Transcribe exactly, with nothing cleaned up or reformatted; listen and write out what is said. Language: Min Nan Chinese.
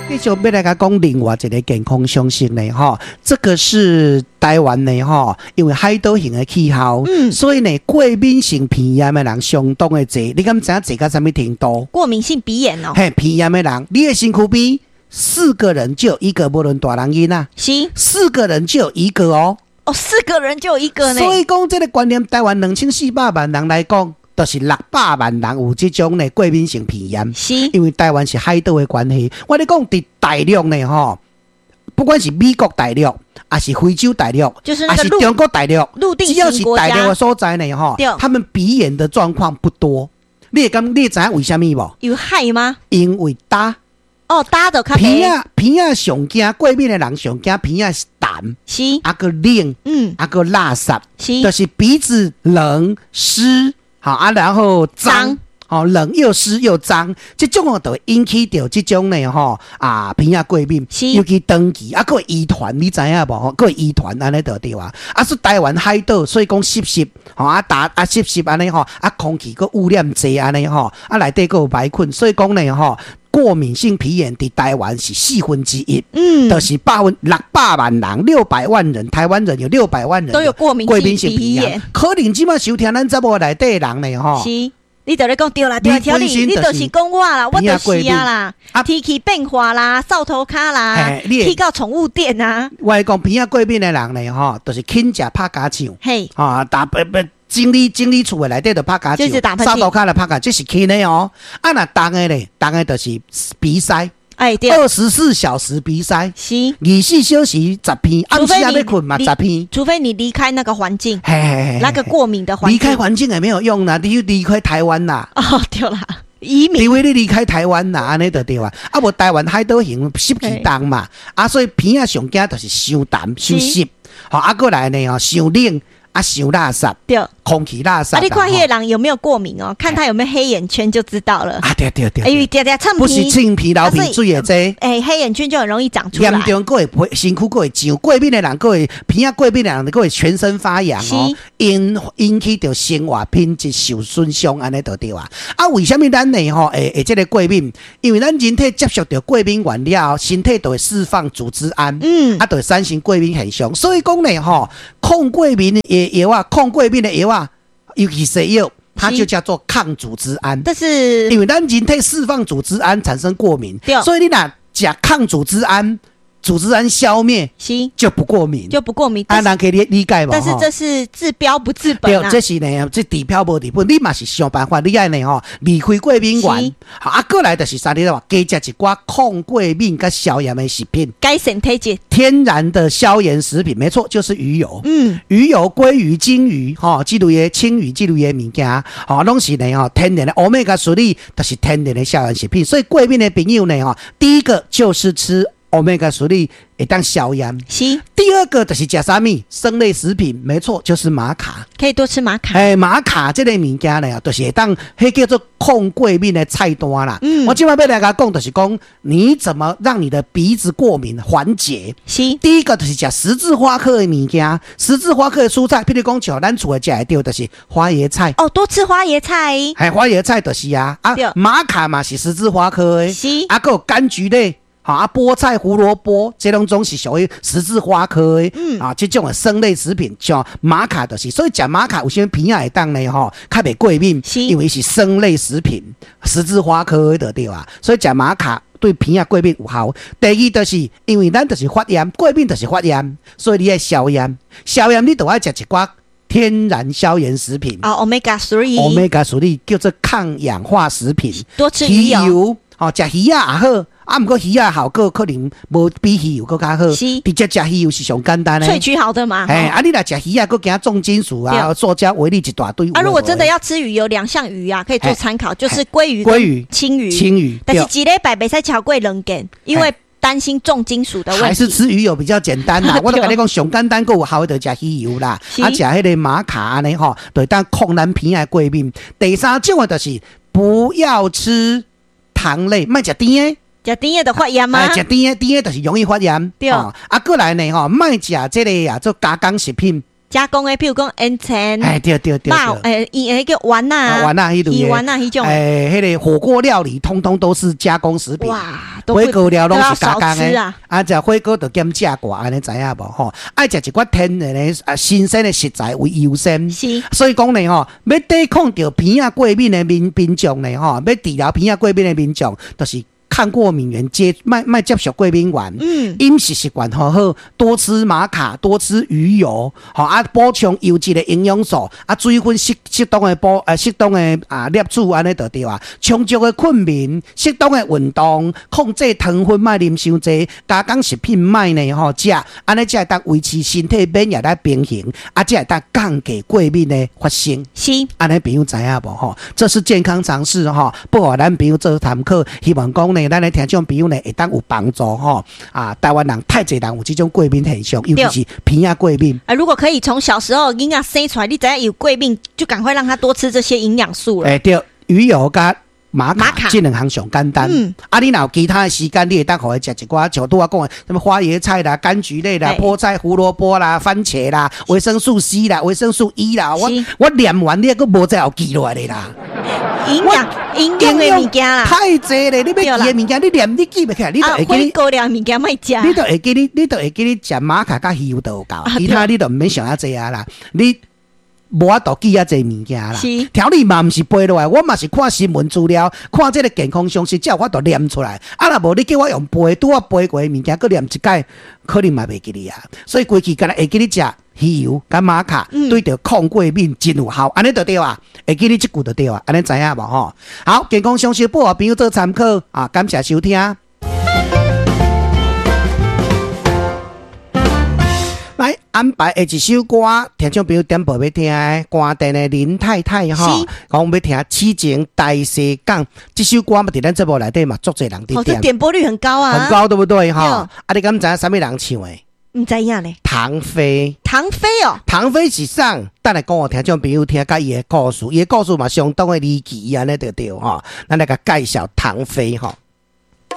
繼續欲來共講另外一個健康常識呢，吼，這個是台灣的吼，因為海島型的氣候，嗯所以呢，過敏性鼻炎的人相當的濟。你敢知影濟到啥物程度？過敏性鼻炎哦。嘿，鼻炎的人，你的身軀邊四個人就有一個，無論大人囡仔，是四個人就有一個哦。哦，四個人就有一個呢。所以講，這個觀念，台灣兩千四百萬人來講，就是六百萬人有這種的過敏性鼻炎。是因為台灣是海島的關係，我咧講佇大陸呢吼，不管是美國大陸，抑是非洲大陸，就是那個抑是中國大陸，陸地只要是大陸的所在呢吼，他們鼻炎的狀況不多。你會感，你會知影為啥物無？有海嗎？因為焦。哦，焦就較鼻仔鼻仔上驚過敏的人上驚鼻仔是痰，是啊閣冷，嗯，啊閣垃圾，是就是鼻子冷濕，好啊，然後髒，哦，冷又濕又髒，這種哦就會引起著這種呢吼啊鼻仔過敏，尤其長期啊，閣會遺傳，你知影無？閣會遺傳按呢就對啊。啊，是台灣海島，所以講濕濕，吼啊焦啊濕濕按呢吼，啊空氣閣污染濟按呢吼，啊內底閣有霾菌，所以講呢吼，過敏性鼻炎佇台灣是四分之一，嗯，就是百分六百萬人，六百萬人，台灣人有六百萬人都有過敏性鼻炎。可能這擺收聽咱節目內底的人呢，吼，是，你就咧講對啦，對啦，調理，你就是講我啦，我就是啊啦，天氣變化啦，掃塗跤啦，去到寵物店啊。我講鼻仔過敏的人呢，吼，就是輕食拍尻槍，嘿，啊，打不不。整理整理厝的內底就拍尻槍，掃塗跤就拍尻，這是輕的哦。啊，若重的咧，重的就是鼻塞，哎，對，二十四小時鼻塞，是，二十四小時十鼻，暗時欲睏嘛十鼻，除非你離開那個環境，嘿嘿嘿，那個過敏的環境，離開環境也沒有用啦，你離開台灣啦。哦，對啦，移民，除非你離開台灣啦，按呢就對啊。啊，無台灣海島型濕氣重嘛，啊，所以鼻仔上驚就是傷痰、傷濕，好啊，閣來呢吼，傷冷。啊，傷垃圾，對，空氣垃圾。啊，你看彼個人有沒有過敏哦？看他有沒有黑眼圈就知道了。啊，對對對。因為常常擤不是擤鼻流鼻水的這。欸，黑眼圈就很容易長出來。嚴重，閣會身軀閣會脹，過敏的人閣會鼻仔過敏的人閣會全身發癢哦，引引起著生活品質受損傷，按呢就對啊。啊，為啥物咱呢吼會會這個過敏？因為咱人體接觸著過敏原了後，身體就會釋放組織胺，嗯，啊，就會產生過敏現象。所以講呢吼，抗過敏的藥啊，抗過敏的藥啊，尤其西藥，它就叫做抗組織胺。但是因為咱人體釋放組織胺產生過敏，所以你若食抗組織胺，組織胺消滅，是就不過敏，就不過敏。啊，人可以理理解無？但是這是治標不治本啊。對，這是呢，這治標無治本。你嘛是想辦法，你愛呢吼，離開過敏原。啊，閣來就是啥？你話加食一寡抗過敏佮消炎的食品，改善體質。天然的消炎食品，沒錯，就是魚油。嗯，魚油、鮭魚、金魚，吼，這類的青魚這類的物件，吼，攏是呢吼，天然的歐米伽三，就是天然的消炎食品。所以過敏的朋友呢，吼，第一個就是吃歐米伽三會當消炎。是。第二個就是食啥物生類食品，沒錯，就是瑪卡。可以多吃瑪卡。欸，瑪卡這個物件呢，就是會當，彼叫做抗過敏的菜單啦。嗯。我這擺欲來共講，就是講你怎麼讓你的鼻子過敏緩解？是。第一個就是食十字花科的物件，十字花科的蔬菜，譬如講像咱厝的食會著，就是花椰菜。哦，多吃花椰菜。嘿，花椰菜就是啊，啊，瑪卡嘛是十字花科的。是。啊，閣有柑橘類。好啊，菠菜、胡蘿蔔，這攏總是屬於十字花科的。嗯，啊，這種的生類食品，像瑪卡就是，所以食瑪卡有啥物鼻仔會當呢？吼，較袂過敏，因為是生類食品，十字花科的就對啊。所以食瑪卡對鼻仔過敏有效。第二就是因為咱就是發炎，過敏就是發炎，所以你愛消炎，消炎你就愛食一寡天然消炎食品。啊，Omega three。 Omega three 叫做抗氧化食品，多吃魚油。吼，食魚仔也好。啊，毋過魚仔效果可能無比魚油閣較好。是，直接食魚油是上簡單的。萃取好的嘛。嘿，啊，你若食魚仔，閣驚重金屬啊、塑膠微粒一大堆。啊，如果真的要吃魚，有兩項魚啊，可以做參考，就是鮭魚、鮭魚、青魚、青魚。但是一禮拜袂使超過兩件，因為擔心重金屬的問題。還是吃魚油比較簡單啦。我都共你講，上簡單閣有效的就食魚油啦。啊，食彼個瑪卡按呢吼，就會當抗咱鼻仔過敏。第三種的就是不要吃糖類，莫食甜的。食甜的就發炎嗎？食甜的，甜的就是容易發炎。對。啊，閣來呢吼，莫食這個啊，做加工食品。加工的，譬如講煙腸，哎對對對，肉，欸，伊彼個丸仔，丸仔彼類魚丸仔彼種，欸，彼个火鍋料理，通通都是加工食品。哇，火鍋料攏是加工的啊，啊，食火鍋就減食寡，按呢知影無吼？愛食一寡天然的啊，新鮮的食材為優先。是，所以講呢吼，欲抵抗著鼻仔過敏的民民眾呢吼，欲治療鼻仔過敏的民眾，就是抗過敏原接莫莫接觸過敏原，嗯，飲食習慣好好，多吃瑪卡，多吃魚油，吼啊，補充優質的營養素，啊，水分適適當的補，呃，適當的啊攝取，按呢就對啊。充足的睏眠，適當的運動，控制糖分，莫啉傷濟，加工食品莫呢吼食，按呢才會當維持身體免疫力平衡，啊，才會當降低過敏的發生。是，按呢朋友知影無吼？這是健康常識吼，不予咱朋友做參考，希望講呢，咱的聽眾朋友呢會當有幫助吼。啊，台灣人太濟人有這種過敏現象，尤其是鼻仔過敏。啊，如果可以從小時候囡仔生出來，你知影有過敏，就趕快讓他多吃這些營養素了。欸，對，魚油佮瑪卡這兩項上簡單。嗯，啊，你若有其他的時間，你會當予伊食一寡，像拄仔講的，什麼花椰菜啦、柑橘類啦、菠菜、胡蘿蔔啦、番茄啦、維生素 C 啦、維生素 E 啦，我我念完你猶閣無再後記落來的啦。營養營養的物件啦，太濟咧！你欲記的物件，你念你記袂起來，你就會記你。火鍋料物件莫食。你就會記你，你就會記你食瑪卡佮魚油就有夠，其他你就毋免想遐濟啊啦。你無法度記遐濟物件啦。調理嘛毋是背落來，我嘛是看新聞資料，看這个健康常識，才有法度念出來。啊，若無你叫我用背，拄仔背過的物件，閣念一擺，可能嘛袂記得啊。所以規氣干焦會記你食魚油佮瑪卡，對著抗過敏真有效，按呢就對啊。會記你這句就對啊，按呢知影無吼？好，健康常識報予朋友做參考啊，感謝收聽。來安排下一首歌，聽眾朋友點播欲聽的，關店的林太太吼，講欲聽《痴情大西港》這首歌嘛，佇咱節目內底嘛，足濟人佇點，點播率很高啊，很高對不對？吼，啊，你敢知影啥物人唱的？毋知影咧。唐飛，唐飛哦，唐飛是啥？等下講予聽眾朋友聽，佮伊的故事，伊的故事嘛相當的離奇按呢就對吼。咱來共介紹唐飛吼。